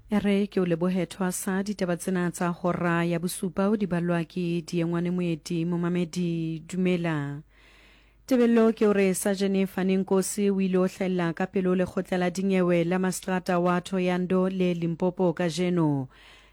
E re ke o lebohe thwasa ditaba tsena tsa hora ya bosupa o di balwa ke Diengwane Moeti. Momamedi dumela. Tebello ke gore Sajene Fane Nkosi o ile o hlahella ka pele ho lekgotla la dinyewe la maseterata wa Thohoyandou le Limpopo kajeno.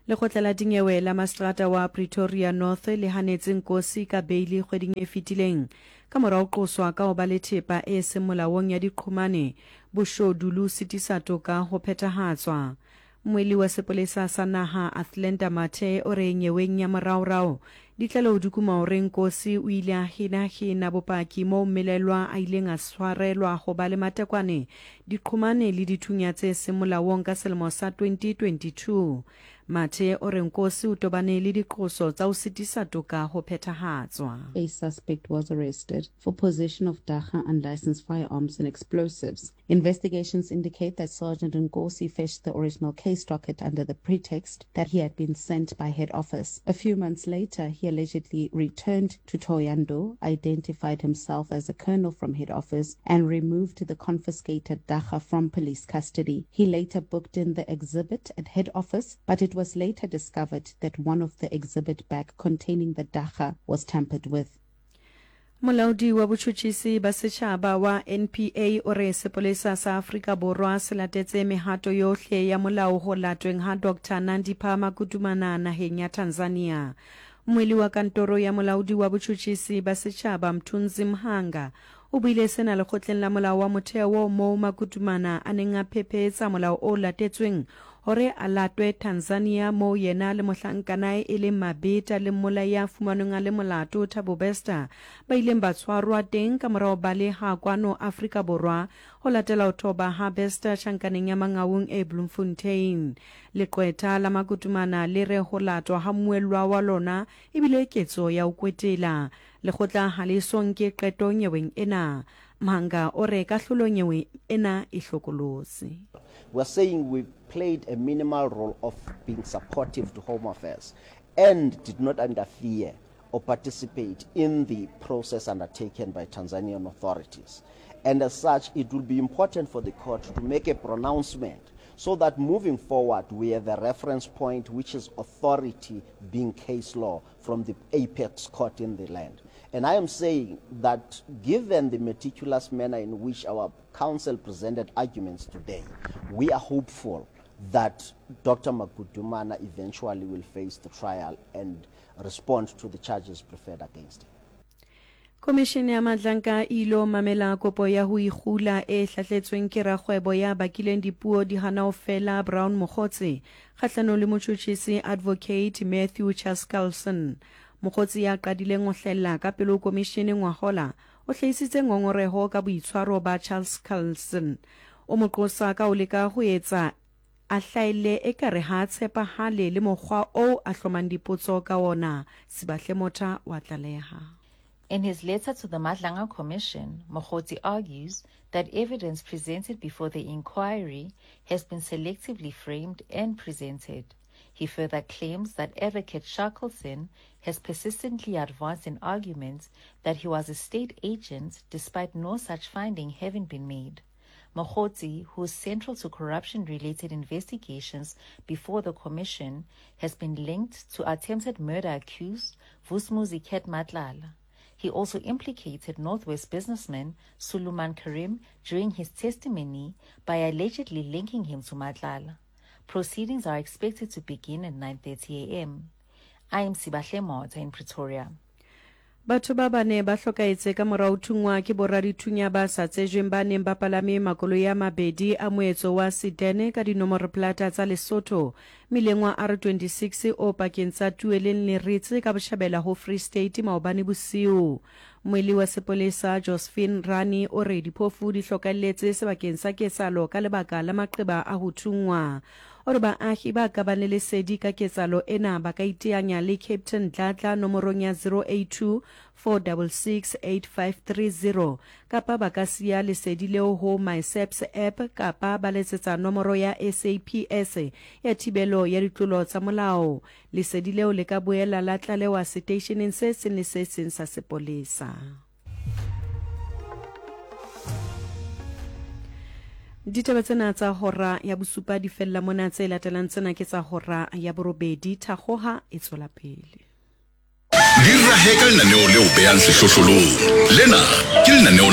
Lekgotla la dinyewe la maseterata wa Pretoria North le hanetse Nkosi ka beili kgweding e fetileng ka mora ho qoswa ka ho ba le thepa e seng molaong ya diqhomane, boshodu le ho sitisa toka ho phethahatswa. Mmuelli wa sepolesa sa naha Athlenda Mathe o re nyeweng ya moraorao ditlaleho di kuma hore Nkosi o ile a henahena bopaki moo mmelaelwa a ileng a tshwarelwa ho ba le matekwane, diqhomane le dithunya tse seng molaong ka selemo sa 2022. Mathe o re Nkosi o tobane le diqoso tsa ho sitisa toka ho phethahatswa. A suspect was arrested for possession of dagga unlicensed firearms and explosives. Investigations indicate that Sergeant Nkosi fetched the original case docket under the pretext that he had been sent by head office. A few months later, he allegedly returned to Thohoyandou, identified himself as a colonel from head office, and removed the confiscated dagga from police custody. He later booked in the exhibit at head office, but it was later discovered that one of the exhibit bag containing the dagga was tampered with. Molaodi wa botšhotšhisi ba setšhaba wa NPA o re sepolesa sa Afrika Borwa se latetse mehato yohle ya molao go latweng ga Doctor Nandipha Magudumana nageng ya Tanzania. Mmueli wa kantoro ya molaodi wa botšhotšhisi ba setšhaba Mthunzi Mhanga o buile sena lekgotleng la molao wa motheo moo Magudumana a neng a phephetsa molao o latetsweng Hore a latwe Tanzania moo yena le mohlankanae e leng Mabeta le mmolai ya fumanweng a le molato Thabo Bester ba ileng ba tshwarwa teng ka mora ho baleha kwano Afrika Borwa ho latela ho thoba ha Bester tjhankaneng ya Mangaung e Bloemfontein. Leqwetha la Makutumana le re ho latwa ha mmuellwa wa lona e bile ketso ya ho kwetela. Lekgotla ha le eso nke qeto nyeweng ena. Mhanga o re kahlolo nyewe ena e hlokolosi. We are saying we played a minimal role of being supportive to Home Affairs and did not interfere or participate in the process undertaken by Tanzanian authorities. And as such, it will be important for the court to make a pronouncement so that moving forward we have a reference point which is authority being case law from the apex court in the land. And I am saying that given the meticulous manner in which our counsel presented arguments today, we are hopeful that Dr. Magudumana eventually will face the trial and respond to the charges preferred against him. Komishene ya Madlanka e ilo mamela kopo ya ho ikgula e hlahletsweng ke rakgwebo ya bakileng dipuo di hana ho fela Brown Mogotsi kgahlanong le motjhutjhisi Advocate Matthew Chaskalson. Mogotsi ya qadileng ho hlahella ka pele ho komishene ngwahola o hlahisitse ngongoreho ka boitshwaro ba Chaskalson. O mo qosa ka ho leka ho etsa a hlaelle ekare ha a tshepahale le mokgwa oo a hlomang dipotso ka wona, Sibahle Motha wa tlaleha. In his letter to the Madlanga Commission, Mogotsi argues that evidence presented before the inquiry has been selectively framed and presented. He further claims that Advocate Shackleton has persistently advanced an argument that he was a state agent despite no such finding having been made. Mogotsi, who is central to corruption-related investigations before the commission, has been linked to attempted murder accused Vusmuzi Cat Matlala. He also implicated Northwest businessman Suleiman Karim during his testimony by allegedly linking him to Matlala. Proceedings are expected to begin at 9.30 a.m. I am Sibahle Mota in Pretoria. Batho ba bane ba hlokahetse ka mora ho thunngwa ke boradithunya ba sa tsejweng ba neng ba palame makoloi a mabedi a moetso wa sedan ka dinomoroplata tsa Lesotho mmileng wa R26 o pakeng tsa Tueleng le Ritz ka botjhabela ho Free State maobane bosiu. Mmuelli wa sepolesa Josephine Rani o re diphofu di hlokahelletse sebakeng sa ketsahalo ka lebaka la maqeba a ho thunngwa. O re baahi ba ka bang le lesedi ka ketsahalo ena ba ka iteanya le Captain Dladla nomorong ya 082 466 8530 kapa ba ka siya lesedi leo ho MySAPS app kapa ba letsetsa nomoro ya SAPS ya thibelo ya ditlolo tsa molao. Lesedi leo le ka boela la tlalewa seteisheneng se seng le se seng sa sepolesa. Ditaba tsena tsa hora ya bosupa di fella mona, tse latelang tsena ke tsa hora ya borobedi. Thakgoha e tswela pele. Di rahe ka lenaneo le o behang sehlohlolong. Lena ke lenaneo.